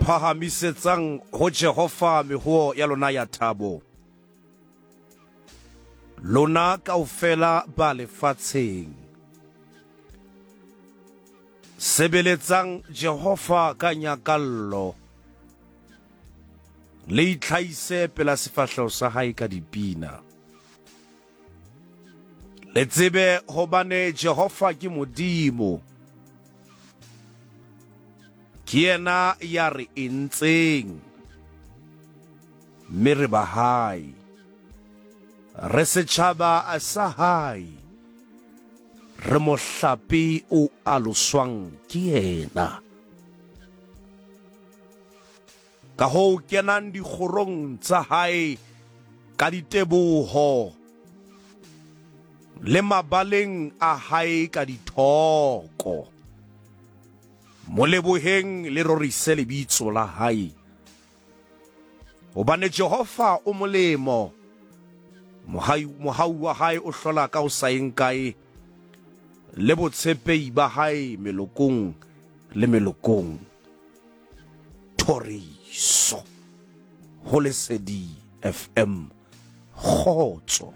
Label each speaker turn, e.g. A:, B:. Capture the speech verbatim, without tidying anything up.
A: Phahamisetsang ho Jehova mehoo ya lona ya thabo, lona kaofela ba lefatsheng. Sebeletsang Jehova ka nyakallo, le itlhahise pela sefahleho sa hae ka dipina. Le tsebe hobane Jehova ke Modimo, ke yena ya re entseng, mme re ba hae, re setjhaba sa hae, re mohlape o aloswang ke yena. Ka hoo kenang dikgorong tsa hae ka diteboho, le mabaleng a hae ka dithoko. Mo leboheng le rorise lebitso la hae, hobane Jehova o molemo, mohau wa hae o hlola ka ho sa yeng kae, le botshepehi ba hae melokong le melokong. Thoriso ho Lesedi F M. Kgotso.